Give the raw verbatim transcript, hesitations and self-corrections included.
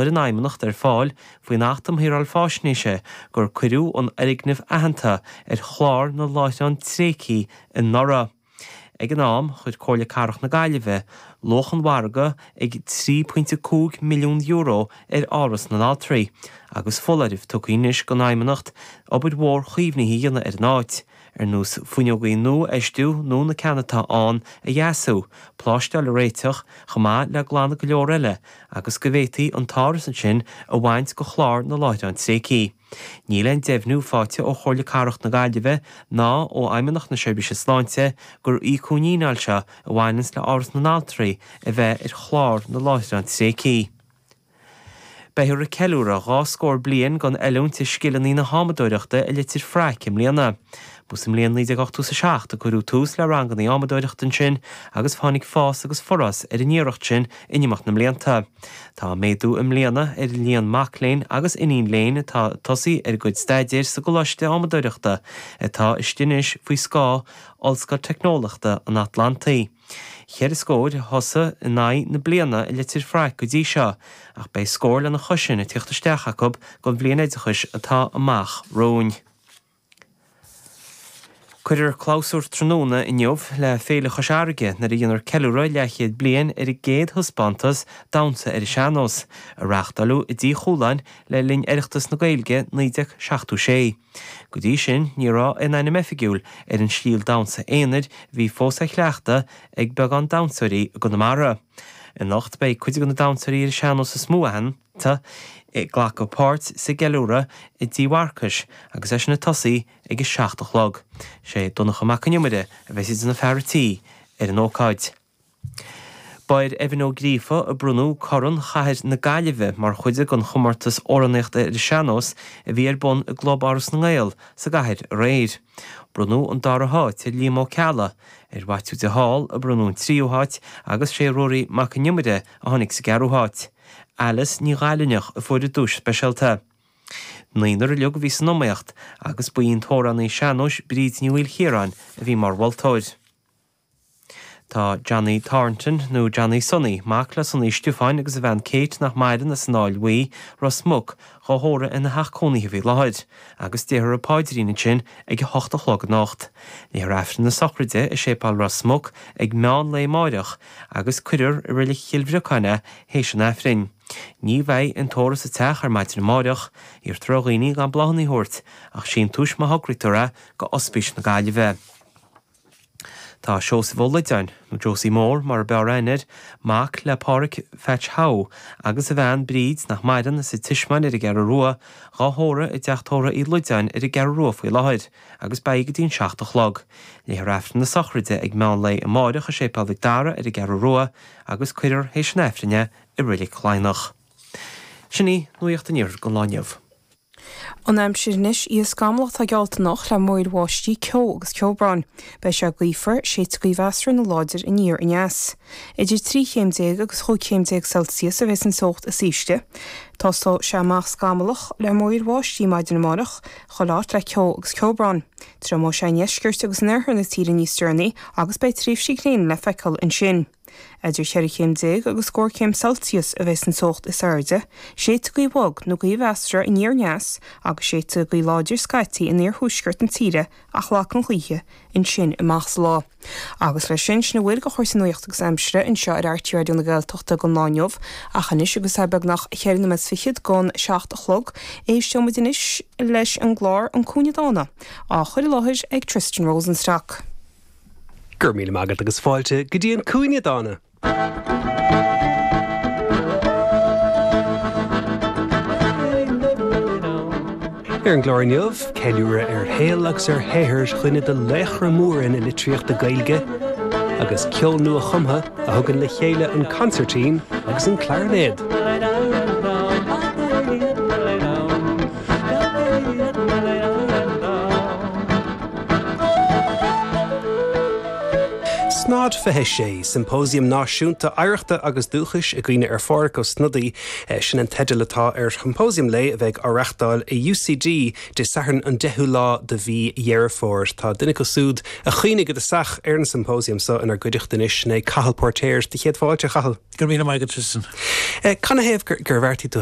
chuir an Fheidhmeannacht ar fáil faoin Acht um Shaoráil Faisnéise gur cuireadh an fhoirgneamh aitheanta ar chlár na láithreán tréigthe anuraidh. Ag an am, chuir Comhairle Cathrach na Gaillimhe luach an mhargaidh ag trí pointe cúig milliún euro ar Áras na nAltraí, agus foláireamh tugtha anois don Fheidhmeannacht obair mhór chaomhnaithe a dhéanamh ar an áit, ar nós fuinneogaí nua a fheistiú nó na ceanna atá ann a dheasú, pláisteáil a réiteach, chomh maith le glanadh go leor eile, agus go bhféadfaí an t-áras ansin a bhaint de chlár na láithreán tréigthe. Níl aon deimhniú faighte ó Chomhairle Cathrach na Gaillimhe ná ó Fheidhmeannacht na Seirbhíse Sláinte gur íocadh an fhíneáil seo a bhaineanns le Áras na nAltraí a bheith ar chlár na láithreán tréigthe. Beifear ag ceiliúradh dhá scór bliain den oiliúint i scileanna na hámadóireachta i Leitir Fraic i mbliana. Ba sa mbliain naoi déag ochtó is a seacht a cuireadh tús le ranganna ámadóireachta ansin agus tháinig fás agus forás ar an iarracht sin in imeacht na mblianta. Tá méadú i mbliana ar an líon mac léinn agus iníon léinn atá ag tosaí ar a gcuid staidéir sa gColáiste Ámadóireachta atá istigh anois faoi scáth Ollscoil Teicneolaíochta an Atlantaigh. Ceithre scór a thosaigh in aghaidh na bliana i Leitir Fraic go dtí seo, ach beidh scór lena chois sin ag tíocht isteach acu don bhliain oideachais atá amach romhainn. Cuirfear clabhsúr tráthnóna inniu le Féile Chois Fharraige nuair a dhéanfar ceiliúradh leathchéad bliain ar an gcéad thaispeántas damhsa ar an sean-nós, a reáchtáladh i dTí Chualáin le linn Oireachtas na Gaeilge naoi déag seachtó sé. Go dtí sin, ní raibh aon ainm oifigiúil ar an stíl damhsa aonair a bhí fós á chleachtadh ag beagán damhsóirí i gConamara. Anocht beidh cuid de na damhsóirí ar an sean-nós is mó aitheanta ag glacadh páirt sa gceiliúradh i dTí Mharcais agus é sin ag tosaí ag a seacht a chlog. Sé Donncha Mac Con Iomaire a bheidh idir na fear tí ar an ócáid. Ba ar Evan Ó Gríofa a bronnadh Corn Chathair na Gaillimhe mar chuid den chomórtas amhránaíochta ar an sean-nós a bhí ar bun i gClub Áras na nGael sa gcathair aréir. Bronnadh an dara háit ar Liam Ó Ceallaigh, ar Mhaitiú de Hál a bronnadh an tríú háit agus sé Ruairí Mac Con Iomaire a tháinig sa gceathrú háit. Alice Ní Ghailneach a fuair an duais speisialta. Naonúr uilig a bhí san iomaíocht agus ba í an t-amhránaí sean-nóis Bríd Ní Mhaoilchiaráin a bhí mar mholtóir. Tá Johnny Thornton nó Johnny Sonny, mac le Sonny Stiofáin agus a bhean Kate nach maireann as an Áill Bhuí, Ros Muc, dhá thórramh ina theach cónaithe faoi láthair, agus déarfar an paidrín ansin ag a hocht a chlog anocht. Léifear Aifreann na sochraide i Séipéal Ros Muc ag meán lae amáireach agus cuirfear i Reilig Chill Bhriocáin é théis an Aifrinn. Ní bheidh an tórramh sa teach ar maidin amáireach, iarrtar ar dhaoine gan bláthanna a thabhairt, ach síntiúis má thograítear é go Ospís na Gaillimhe. Tá Seosamh Ó Loideáin, nó Josie Mór mar a b'fhearr aithne air, mac le Páraic Phatch Howe agus a bhean Bríd nach maireann as an Tismeáin ar an gCeathrú Rua, dhá thórramh i dteach tórraimh Uí Loideáin ar an gCeathrú Rua faoi láthair, agus beidh go dtí an seacht a chlog. Léifear Aifreann na sochraide ag meán lae amáireach i Séipéal Mhic Dara ar an gCeathrú Rua agus cuirfear théis an Aifrinn é i Reilig Laighneach. Sin í nuacht an iarthair don lá inniu. An aimsir anois í scamallach tá geallta anocht le múraíl bháistí, ceo agus ceobhrán. Beidh sé gaofar, séidfidh gaoth mheasartha nó láidir aniar aneas. Idir trí chéim déag agus chúig chéim déag Celsius a bheas an teocht is ísle. Tosóidh sé amach scamallach le múraíl bháistí maidin amárach, chuile áit le ceo agus ceobhrán. Triomóidh sé i ndeisceart agus in oirthear na tíre níos deireanaí agus beidh tréimhsí gréine le feiceáil ansin. Idir cheithre chéim déag agus scór céim Celsius a bheas an teocht is airde, séidfidh gaoth bhog nó gaoth mheasartha aniar aneas agus séidfidh gaoth láidir scaití in iarthuaisceart na tíre ach lagfaidh an ghaoth ansin amach sa lá. Agus leis sin sin a bhfuil de chúrsaí nuachta agus aimsire anseo ar RTÉ Raidió na Gaeltachta don lá inniu, ach anois agus é beagnach ceithre nóiméad fichead don seacht a chlog, éisteoidh muid anois leis an gclár An Cúinne Dána, á chur i láthair ag Tristan Rosenstock. Go raibh míle maith agat agus fáilte go dtí an Cúinne Dána. Ar an gclár inniu, ceiliúradh ar shaol agus ar shaothar dhuine de laochra móra na litríochta Gaeilge agus ceol nua-chumtha a thugann le chéile an consairtín agus an clarinéad. Snod fiche sé, Symposium Náisiúnta Oidhreachta agus Dúchais i gcuimhne ar Phádhraic Ó Snodaigh, sin an teideal atá ar shymposium lae a bheidh á reáchtáil i UCD Dé Sathairn an deichiú lá de mhí Dheireadh Fómhair. Tá duine acu siúd a choinnigh i dtosach ar an symposium seo inár gcuideachta anois, sin é Cathal Póirtéir. Do chéad fáilte, a Chathail. Go raibh míle maith agat, Tristan. Canathaobh gur bheartaigh tú